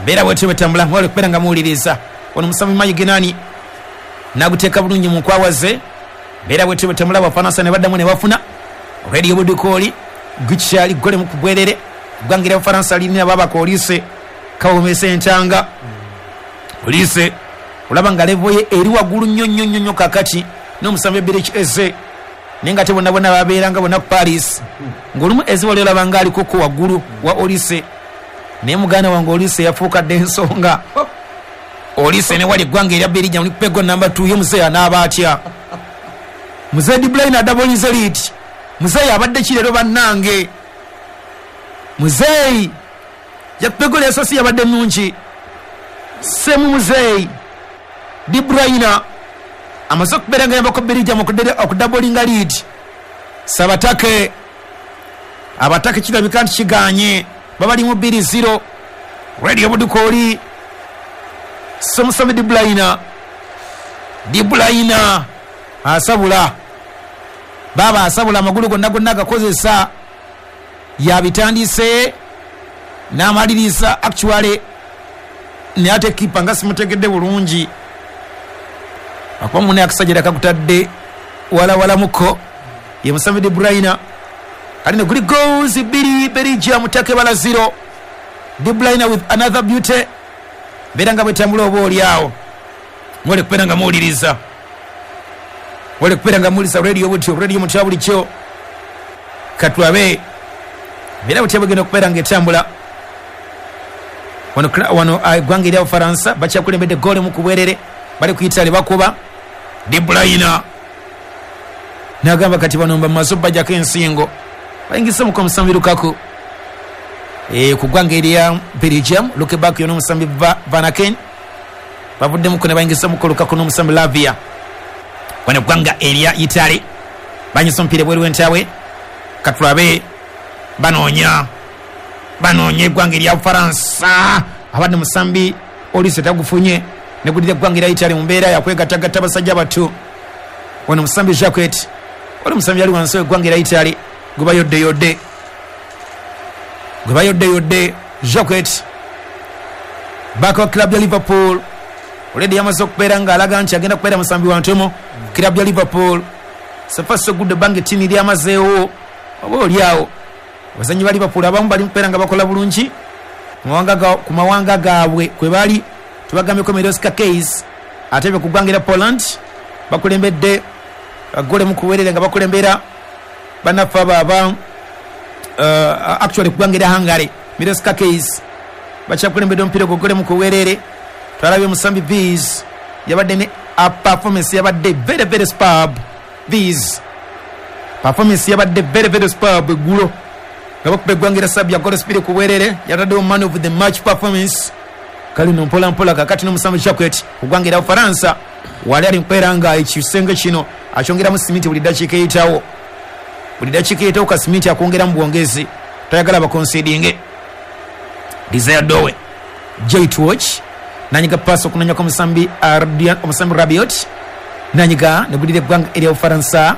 Mbeera bwetyo bwetambula, mwewale kubeera nga muwuliriza. Ono musambi Mayiginani naguteeka bulungi mu nkwawa ze. Mbeera bwetyo bwetambula, Abafaransa ne baddamu ne bafuna Radio Budukooli gukyali gole mu kubwerere. Eggwanga erya Bufaransa lirina babaka Olise kawomesa entanga. Olise olaba nga level ye eri waggulu nnyo nnyo nnyo nnyo kakati n'omusambi Eberechi Eze, naye nga ate bonna bonna babeeranga bonna ku Paris, ng'olumu Eze wali olaba nga alikoko waggulu wa Olise, naye muganda wange Olise yafuuka dda ensonga. Olise ne wali eggwanga erya Belgium likupa goal namba 2 ye muzeeyi anaaba atya? Muzeeyi De Bruyne adabolinze lead. Muzeeyi abadde ki leero bannange? Muzeeyi yakupa goal yasoose yabadde nnungi. Semu muzeeyi De Bruyne amaze okubeera nga yambako Belgium okudabolinga lead. Sabatake abatake kirabika nti kiganye, babalimu 2-0. Radio Budukooli Semusami De Bruyne, De Bruyne asabula baba asabula amagulu gonna gonna agakozesa, yabitandise n'amaliriza actually, naye ate kipa nga simutegedde bulungi akuba mune akasajja kakutadde walawalamuko ye Musambi De Bruyne. Kali ne guli goals 2 Belgium take bala 0. De Bruyne with another beauty. Mbeera nga bwetambula oba oli awo mwole kubeera nga muwuliriza, mwole kubeera nga muwuliriza radio butyo, radio mutya bulijjo. Katulabe mbeera butya bwegenda okubeera nga etambula. Wano eggwanga erya Bufaransa bakyakulembedde goal mu kubwerere, bali ku Italy bakuba. De Bruyne n'agamba kati bano mbamaze obbajjako ensingo, bayingisemuko omusambi Lukaku ku ggwanga erya Belgium. Lukeback yo n'omusambi Vanaken bavuddemuko ne bayingisemuko Lukaku n'omusambi Lavia. Wano eggwanga erya Italy banyisa omupiira ebweru w'entabwe. Katulabe banoonya eggwanga erya Bufaransa. Abadde musambi Olise tagufunye negulira eggwanga erya Italy mu mbeera yakwegattagatta basajja batu. Wano musambi Jacquet oli musambi yali wansi w'eggwanga erya Italy gwe bayoddeyodde Jacquet baka wa club ya Liverpool. Already yamaze okubeera ng'alaga nti agenda kubeera musambi wa ntomo club ya Liverpool. So far so good, ebbanga ettini lyamazeewo oba oli awo abazannyi ba Liverpool abamu bali mukubeera nga bakola bulungi ku mawanga gaabwe kwe bali. Tubagambyeko Miroska Keys ate be ku ggwanga erya Poland bakulembedde gole mu kuweerera nga bakulembera bannaffe abo aba actually ku ggwanga erya Hungary. Miroska Keys bakyakulembedde omupiira ogwo gole mu kuweerere. Twalabye musambi Viz yabadde ne a performance yabadde very very superb. Viz performance yabadde very very superb eggulo nga bakuba eggwanga erya Serbia goal sipiri ku bwerere, yataddewo man of the match performance. Kale no mpola mpola kakati n'omusambi Jacquet ku ggwanga erya Bufaransa wali ali nkubeera nga ekisenge kino akyongeramu simiti buli ddakiika eyitawo, buli ddakiika eyitawo ka simiti akwongeramu bwongezi, tayagala bakonsidinge. Desire Dowe J-Watch nanyiga paasi okunonyako omusambi Rabiot nanyiga negulira eggwanga erya Bufaransa.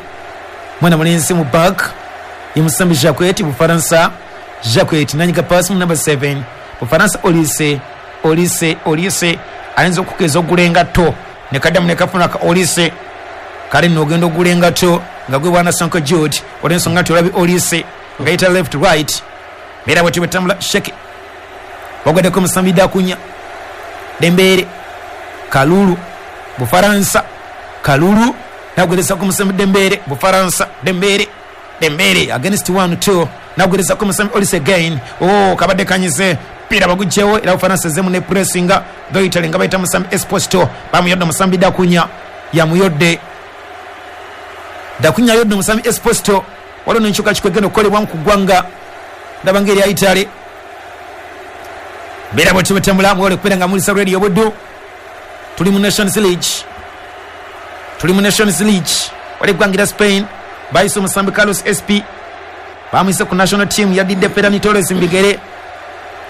Mwana mulenzi mu back ye musambi Jacquet Bufaransa. Jacquet nanyiga paasi mu number 7 Bufaransa. Olise ayinza okukeza ogula engatto ne kaddamu ne kafuna ka Olise. Kale nno ogenda ogula engatto nga gwe bwana Sonko Jude olw'ensonga nti olabye Olise nga yita left right. Mbeera bwetyo bwetambula. Sheke wagwaddeko omusambi Dakunya Dembele Kalulu Bufaransa. Kalulu nagwerezako omusambi Dembele Bufaransa. Dembele against 1-2 nagwerezako omusambi Olise again. Oh, kabadde kanyize pira bagugyewo era Bufaransa ezemu ne pressinga though Italy nga bayita musambi Esposito bamuyodde omusambi Dakunya yamuyodde. Dakunya yodde omusambi Esposito. Waliwo n'enkyukakyuka egenda okukolebwamu ku ggwanga ndaba ng'erya Italy. Mbeera bwetyo bwetambula, mwewale kubeera nga mulisa Radio Buddu. Tuli mu Nations League, tuli mu Nations League. Wali eggwanga erya Spain bayise omusambi Carlos SP bamuyise ku national team, yadidde Ferran Torres mu bigere.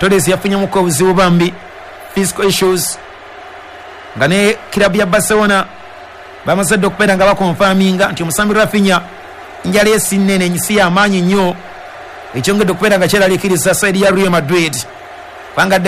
Torres yafunyemuko obuzibu bambi, physical issues, nga ne club ya Barcelona bamaze dda okubeera nga bakonfaminga nti omusambi Rafinha njala ye si nnene, si y'amaanyi nnyo, ekyongedde okubeera nga kyeraliikiriza side ya Real Madrid kubanga